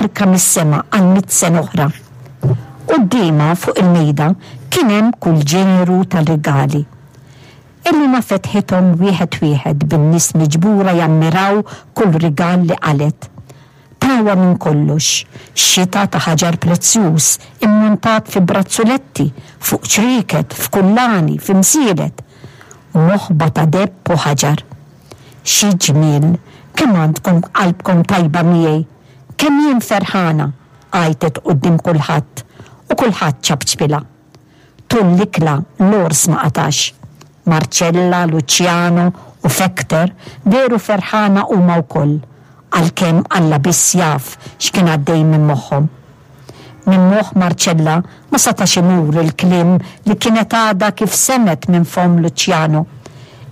Barka mis-sema għal mitt sena oħra. Quddiemha fuq il-mejda kien hemm kull ġeneru ta' rigali. Elena fetħithom wieħed wieħed bin-nies miġbura jammiraw kull rigal li qalgħet. Tawha minn kollox, xita ta' ħaġar prezzjuż immuntat fi brazzuletti, fuq ċrieket, f'kullani, fi msielet, u moħba ta' deheb u ħaġar. Xi ġmiel! Kemm għandkom qalbkom tajba miegħi! Kemm jien ferħana! għajtet quddiem kulħadd u kulħadd ċapċpilha. Tul l-ikla l-għors ma qatax. Marcella, Luciano u Fekter dehru ferħana huma wkoll, għalkemm Alla biss jaf x'kien għaddej minn moħħhom. Minn moħħ Marcella ma setax imur il-kliem li kienet għadha kif semgħet minn fomm Luciano.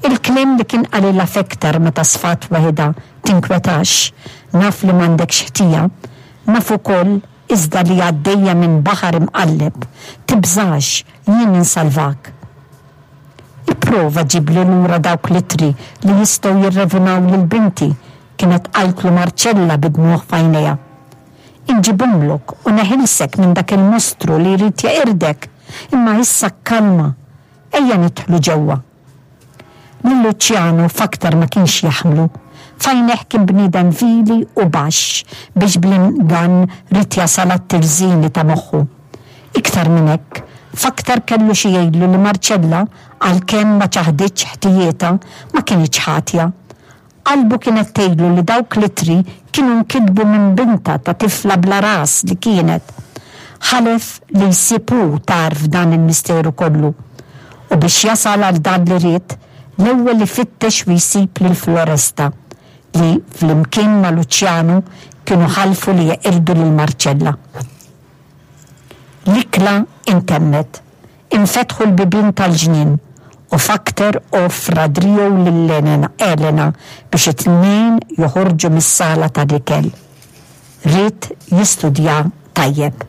Il-kliem li kien qalilha Fekter meta sfat weħidha, Tinkwetax, naf li m'għandekx ħtija. Naf ukoll iżda li għaddejja minn baħar imqalleb. Tibżax, jien insalvak. Ipprova ġibli lura dawk l-ittri li jistgħu jirrevunaw lil binti, kienet qaltlu Marcella bid-dmugħ f'għajnejha. Inġibhomlok u neħilsek minn dak il-mostru li jrid jeqirdek, imma issa kkalma, ejja nidħlu ġewwa. Lil Luciano f'aktar ma kienx jaħmlu. F'għajnejh kien bniedem vili u baxx biex bl-ingann ried jasal għat-tirżini ta' moħħu. Iktar minn hekk, f'aktar kellu xi jgħidlu li Marcella, għalkemm ma ċaħditx ħtijietha, ma kinitx ħatja. Qalbu kienet tgħidlu li dawk l-ittri kienu nkitbu minn bintha ta' tifla bla ras li kienet. Ħalef li jsib hu tarf dan il-misteru kollu. U biex jasal għal dan li ried, l-ewwel ifittex u jsib lil Floresta, li, flimkien ma' Luċjanu, kienu ħalfu li jeqirdu lil Marcella. L-ikla intemmet. Infetħu l-bibien tal-ġnien u Fakter offra driegħu lil Elena biex it-tnejn joħorġu mis-sala tal-ikel. Ried jistudja tajjeb.